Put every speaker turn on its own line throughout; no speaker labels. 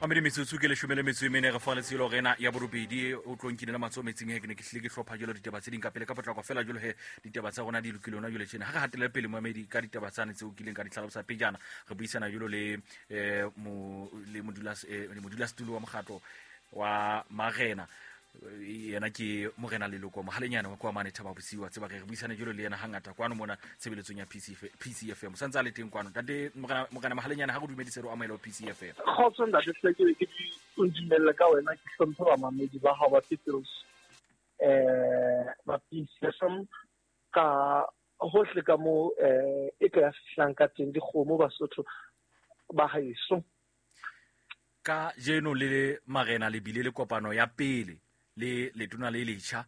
Mamedi, metsotso ke 14 re fa letshelo rena ya borobedi. O tlo nkinela matsoho metsing he, ke ne ke hlile ke hlopha jalo ditaba tse ding ka pele ka potlako fela. Jalo he, ditaba tsa rona di lokile hona jwale tjena. Ha re hatele pele, moamedi, ka ditaba tsane tseo kileng ka di tlhalosa pejana, re buisana jalo le le modulasetulo wa mokgatlo wa marena. Yena ke morena Leloko Mohalenyane wa kwa mane Thaba Bosiu. Wa tseba re buisane jalo le yena hangata kwano mona tshebeletsong ya PCFM. O santse a le teng kwano, ntate morena Mohalenyane. Ha re dumedise, re o amohele ho PCFM.
Kgotso, ntate Hleke. Ke di o ntumelle ka wena ke hlomphe bamamedi ba hao ba Peoples, ba PCFM ka hohle ka mo e ka ya fihlang ka teng dikgomo, Basotho ba haeso.
Ka jeno le marena le bile le kopano ya pele le letona le letjha.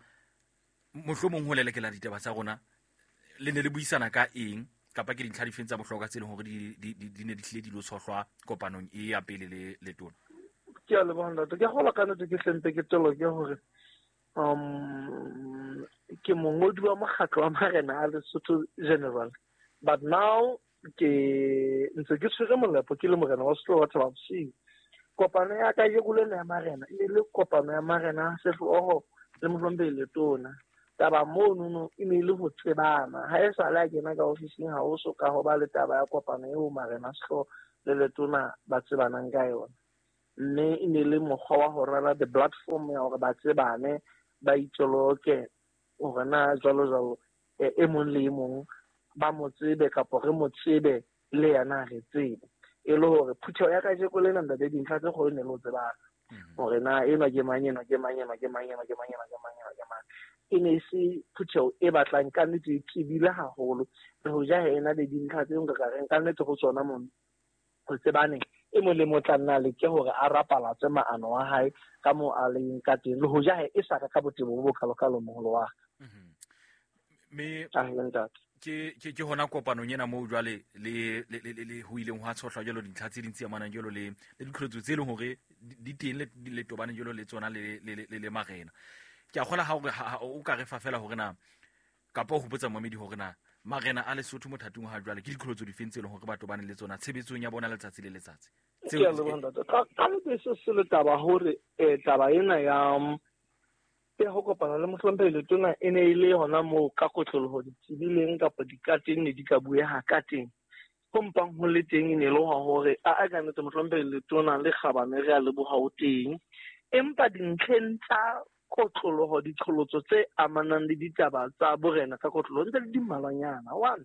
Mohlomong ho lelekela ditaba tsa rona, le ne le buisana ka eng, kapa ke dintlha difeng tsa bohlokwa tse leng hore di ne di hlile di lo tshohlwa kopanong e ya pele le letona?
Ke a leboha, ntate. Ke gola ka nnete ke hlempe ke toloke hore ke mongodi wa mokgatlo wa marena a Lesotho general, but now ke ntse ke tshwere molepo ke le morena wa Setlogo wa Thaba Bosiu. Kopano ya ka lena ya marena e le kopano ya marena a sehlooho le mohlomphehi letona. Taba monono e ne e le ho tsebana. Ha e sale a kena ka ofising, ha ho so ka ho ba le taba ya kopano eo marena a sehlooho le letona ba tsebanang ka yona, mme e ne le mokgwa wa ho rala the platform ya hore ba tsebane, ba itjoloke hore na jwalo jwalo, e mong le e mong ba mo tsebe kapa re mo tsebe le yena re tsebe. E le hore phutheho ya kajeko lena, ntate, dintlha tse kgolo ne le ho tsebana hore na enwa ke mang, enwa ke mang, enwa ke mang, enwa ke mang, enwa ke mang, enwa ke mang. E ne e se phutheho e batlang ka nnete e tsebile haholo, le ho ja ena le dintlha tse nka ka reng ka nnete ho tsona mono ho tsebane. E mong le mong tla nna leke hore a rapalatse maano a hae ka moo a leng ka teng, le ho ja e sa ka ka botebo bo bokalokalo, moholo wa ka.
Mme ke hona kopanong ena moo jwale le ho ileng hwa tshohlwa jalo dintlha tse ding tse amanang jalo le diqholotso tse leng hore di teng le tobane jalo le tsona le marena. Ke a kgola ha hore o ka re fa fela hore na, kapa o hopotsa momedi hore na marena a Lesotho mothating ha jwale ke diqholotso difeng tse leng hore ba tobane le tsona tshebetsong ya bona letsatsi le letsatsi?
Ke a leboha, ntate. Ka nnete se le taba hore taba ena ya ho kopana le mohlomphehi letona e ne e le hona moo ka kotloloho ditsebileng kapa dikateng ne di ka bueha ka teng. Ho mpang ho le teng e ne le hore a ka nnete mohlomphehi letona le kgabane, re a leboha, o teng, empa dintlheng tsa kotloloho diqholotso tse amanang le ditaba tsa borena ka kotloloho ntse le di mmalwanyana. One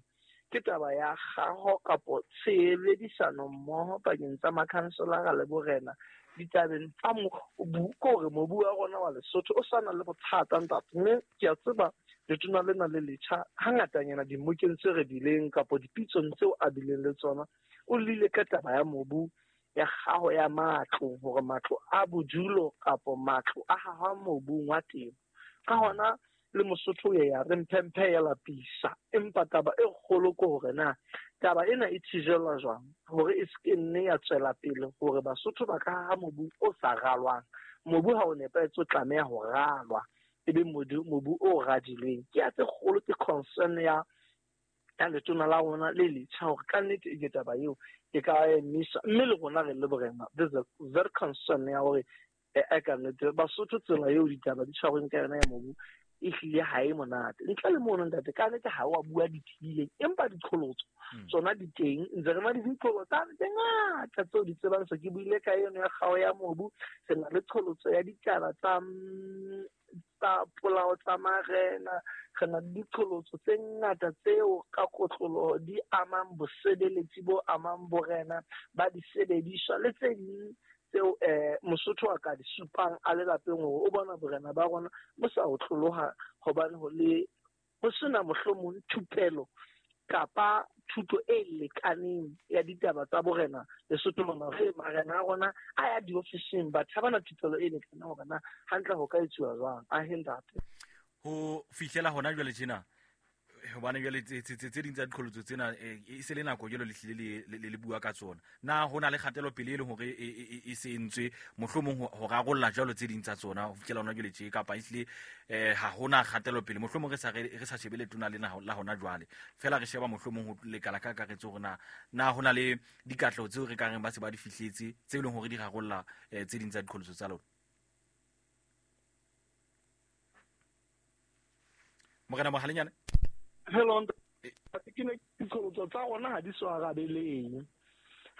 ke taba ya kgaho kapo tshebedisano mmoho pakeng tsa makhanselara le borena ditabeng tsa mobu, ke hore mobu wa rona wa Lesotho o sa na le bothata, ntate. Mme ke a tseba letona lena le letjha hangatanyana dimokeng tse re bileng kapo dipitsong tseo a bileng le tsona, o lile ka taba ya mobu, ya kgaho ya matlo, hore matlo a bodulo kapo matlo a hahwa mobung wa temo. Ka hona le Mosotho ye ya re mphemphe ya lapisa, empa taba e kgolo ke hore na taba ena e thijelwa jwang hore e se ke nne ya tswela pele hore Basotho ba ka haha mobu o sa ralwang. Mobu ha o nepahetse o tlameha ho ralwa, e be mobu o radilweng. Ke ya tse kgolo, ke concern ya letona la rona le letjha hore ka nnete e ke taba eo e ka emisa. Mme le rona re le borena, there's a very concern ya hore e ka nnete Basotho tsela eo ditaba di tshwarweng ka yona ya mobu e hlile ha e monate. Ntle le mono, ntate, ka nnete ha wa bua dithileng, empa diqholotso tsona di teng. Ntse re na le diqholotso tse ngata tseo di tsebang. Se ke buile ka eno ya kgao ya mobu. Re na le qholotso ya ditaba tsa polao tsa marena. Re na le diqholotso tse ngata tseo ka kotloloho di amang bosebeletsi bo amang borena ba disebediswa le tse ding tseo Mosotho a ka di supang a le lapeng hore o bona borena ba rona bo sa otloloha, hobane ho le ho sena mohlomong thupelo kapa thuto e lekaneng ya ditaba tsa borena Lesotho mona. Re marena a rona a ya diofising, batho ha bana thupelo e lekaneng hore na hantle ho ka etsuwa jwang. A he, ntate.
Ho fihlela hona jwale tjena, Hobane jwale tse ding tsa diqholotso tsena e se le nako jwalo le hlile le bua ka tsona. Na ho na le kgatelopele e leng hore e se entswe mohlomong ho rarolla jwalo tse ding tsa tsona ho fihlela hona jwale tje, kapa ehlile ha hona kgatelopele? Mohlomong re sa shebe letona lena la hona jwale, fela re sheba mohlomong ho lekala ka kakaretso hore na ho na le dikatleho tseo re ka reng ba se ba di fihletse tse leng hore di rarolla tse ding tsa diqholotso tsa lona. Morena Mohalenyane.
Hello, ke ne diqholotso tsa rona ha di so arabeleng.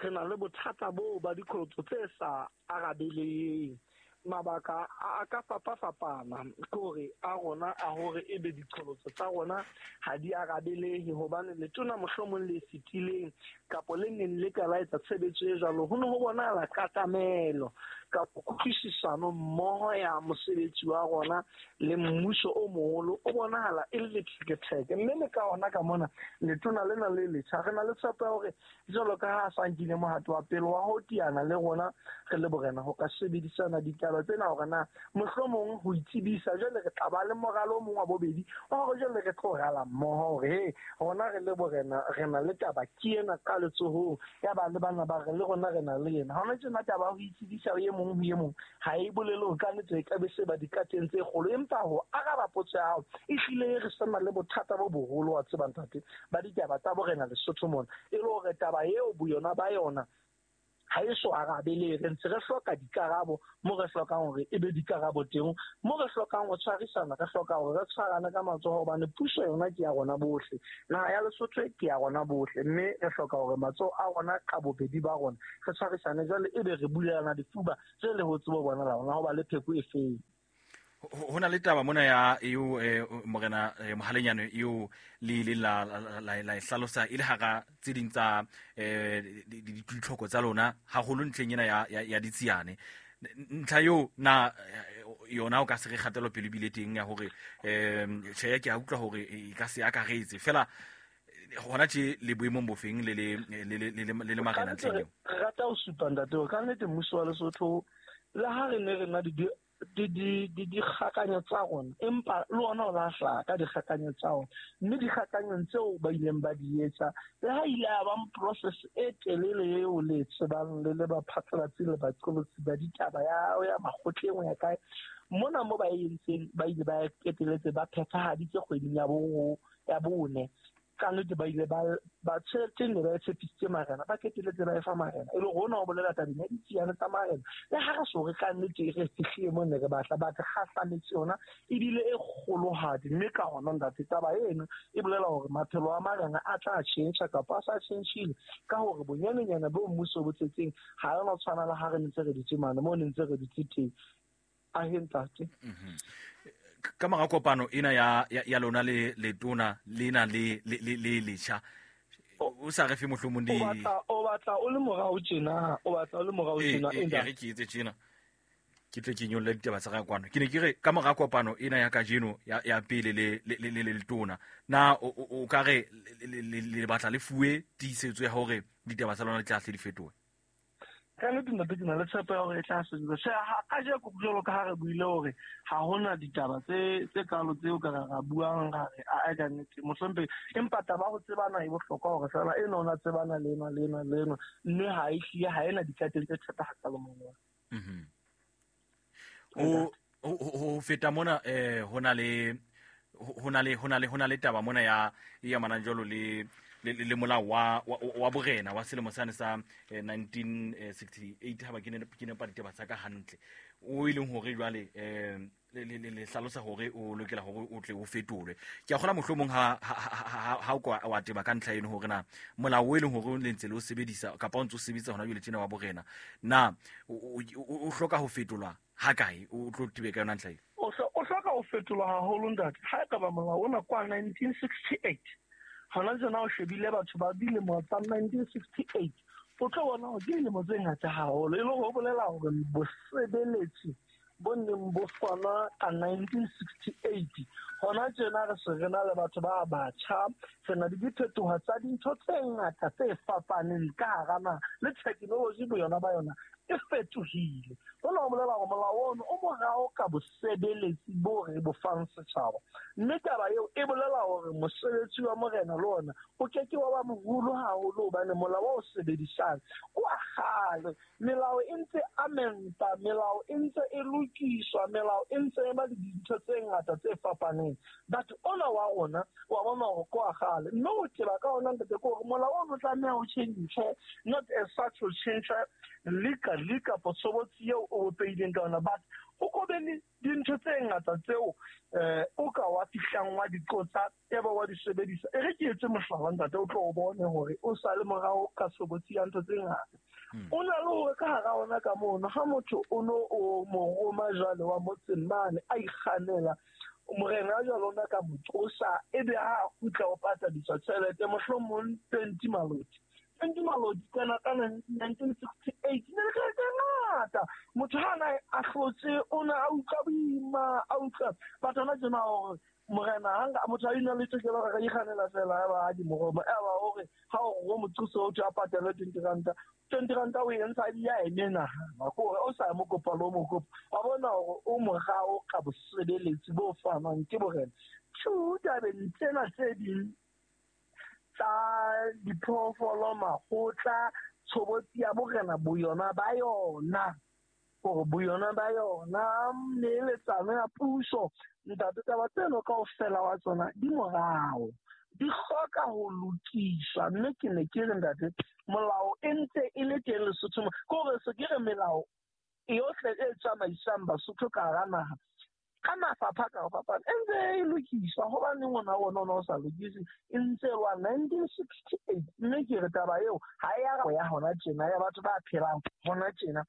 Re na le bothata boo ba diqholotso tse sa arabeleng. Mabaka a ka fapafapana, ke hore a rona a hore ebe diqholotso tsa rona ha di arabelehe, hobane letona mohlomong le fetileng kapo le neng le ka la etsa tshebetso e jwalo, ho ne ho bonahala katamelo kapo kutlwisisano mmoho ya mosebetsi wa rona le mmuso o moholo o bonahala e le letheketheke. Mme le ka ona ka mona letona lena le letjha re na le tshepo ya hore jwalo ka ha a sa nkile mohato wa pele wa ho teana le rona re le borena ho ka sebedisana ditaba tsena hore na mohlomong ho itsebisa, jwale re tla ba le moralo o mong wa bobedi wa hore jwale re tlo rala mmoho hore he rona re le borena re na le taba ke ena ka letsohong, ya ba le bana ba re le rona re na le ena. Hona tjena taba ya ho itsebisa e mong ho e mong ha e bolele hore ka nnete e ka be se ba dikateng tse kgolo, empa ho araba potso ya hao ehlile re sa na le bothata bo boholo wa tseba ntate ba ditaba tsa borena Lesotho mona, e le hore taba eo boyona ba yona ha e so arabele. Re ntse re hloka dikarabo mo re hlokang hore e be dikarabo teng, mo re hlokang ho tshwarisana, re hloka hore re tshwarane ka matsoho, hobane puso yona ke ya rona bohle, naha ya Lesotho ke ya rona bohle, mme re hloka hore matsoho a rona ka bobedi ba rona re tshwarisane, jwale ebe re bulelana difuba tse le ho tsebo bona la rona ho ba le pheko e feng.
Ho na le taba mona ya eo morena Mohalenyane eo le ileng la e hlalosa e le hara tse ding tsa ditlhoko tsa lona haholo ntlheng ena ya ditsiane. Ntlha eo na yona o ka se re kgatelopele bile teng ya hore tjhe ke a utlwa hore e ka se akaretse fela hona tje le boemong bofeng le le marena ntlheng eo?
Re rata ho supa ntate hore ka nnete mmuso wa Lesotho le ha re ne re na dikgakanyo tsa rona, empa le ona o la hlaha ka dikgakanyo tsa ona, mme dikgakanyong tseo ba ileng ba di etsa le ha ile ya ba process e telele eo le tsebang le le baphatlalatsi le baqolotsi ba ditaba ya makgotleng ho ya kae mona mo ba entseng, ba ile ba qeteletse ba phethahaditse kgweding ya bone. Ka nnete ba ile ba tjhelete ne ba e tshepisitse marena, ba qeteletse ba e fa marena, e le hore hona ho bolela tabeng ya ditsiane tsa marena. Le ha re so re ka nnete re fihlile mo ne re batla, ba re kgahlametse yona ebile e kgolohadi, mme ka hona ntate taba eno e bolela hore maphelo a marena a tla tjhentjha kapa a sa tjhentjhile, ka hore bonyanenyana bo mmuso bo tsetseng ha yona tshwana le ha re ntse re dutse mane mo ne ntse re dutse teng. Ahe ntate.
Ka mora kopano ena ya lona le letona lena le letjha, o sa re fe mohlomong di
o batla o le morao tjena, o batla o le morao tjena.
E re ke etse tjena, ke tle ke nyolle ditaba tsa ka kwano. Ke ne ke re ka mora kopano ena ya kajeno ya pele le letona, na o ka re le batla le fuwe tiisetso ya hore ditaba tsa lona di tla hle di fetohe?
Ka nnete ntate ke na le tshepo ya hore e tla sebetsa. Tjhe, kajeko jwalo ka ha re buile hore ha hona ditaba tse kalo tseo ka ra buang ra re a ka nnete mohlomphehi, empa taba ho tsebana e bohlokwa hore fela ena o na tsebana le ena le ena le ena, mme ha e hlile ha ena dikateng tse thata hakalo mona.
Ho feta mona ho na le taba mona ya e amanang jwalo le le molao wa borena wa selemo sane sa 1968, ha ba ke nepa ditaba tsa ka hantle, o e leng hore jwale le hlalosa hore o lokela hore o tle o fetolwe. Ke a kgola mohlomong ha o wa teba ka ntlha eno hore na molao o e leng hore le ntse le o sebedisa kapa o ntse o sebetsa hona jwale tjena wa borena, na o hloka ho fetolwa ha kae? O tlo tibe ka yona ntlha eo?
O hloka ho fetolwa haholo ntate. Ha e ka ba molao ona kwa 1968, hona jona o shebile batho ba dilemo tsa 1968, o tlo bona hore ke dilemo tse ngata haholo, e le hore ho bolela hore bosebeletsi bo neng bo fanwa ka 1968. Hona tjena re se re na le batho ba batjha, re na le diphetoho tsa dintho tse ngata tse fapaneng ka hara naha, le technology boyona ba yona e fetohile. Hona ho bolela hore molao ono o morao ka bosebeletsi bo re bo fang setjhaba, mme taba eo e bolela hore mosebetsi wa morena le ona o ke ke wa ba moholo haholo, hobane molao o sebedisang o wa kgale. Melao e ntse amenta, melao e ntse e lokiswa, melao e ntse e ba le dintho tse ngata tse fapaneng, but ona wa rona wa bona hore ke wa kgale. Mme ho teba ka ona, ntate, ke hore molao ono tlameha o tjhentjhe, not as such ho tjhentjha legally kapa tshobotsi eo o bopehileng ka yona, but o ko be le dintho tse ngata tseo o ka wa fihlang wa di qotsa, ebe wa di sebedisa. E re ke etse mohlala, ntate, o tlo o bone hore o sa le morao ka tshobotsi ya ntho tse ngata. O na le hore ka hara ona ka mono, ha motho o no o mo roma jwale wa motseng mane a ikganela, morena jwale ona ka mo tsosa, ebe ha a kgutla o patadiswa tjhelete mohlomong 20 maloti. 20 maloti kana ka 1968 ne le tjhelete e ngata. Motho ha na a hlotse, o ne a utlwa boima, a utlwa batho hona tjena hore morena hanga motho a ina le tokelo hore a ikganela fela, eba ha di mo roma, eba hore ha o mo thusa o a patale 20 ranta, 20 ranta o e ntsha di ya e menahana, ke hore o sa mo kopa le o mo kopa, wa bona hore o morao ka bosebeletsi bo fanwang ke borena. Two, tabeng tsena tse ding tsa diphoofolo, makgotla, tshobotsi ya borena boyona ba yona, hore boyona ba yona neeletsano ya puso, ntate, taba tseno kaofela wa tsona di morao, di hloka ho lokiswa. Mme ke ne ke re, ntate, molao e ntse e le teng Lesotho mo, ke hore se ke re melao yohle e tsamaisang Basotho ka hara naha ka mafapha ka ho fapana e ntse e lokiswa. Hobaneng ona ona o sa lokise? E ntse wa 1968. Mme ke re taba eo ha e ya ya hona tjena ya batho ba phelang hona tjena.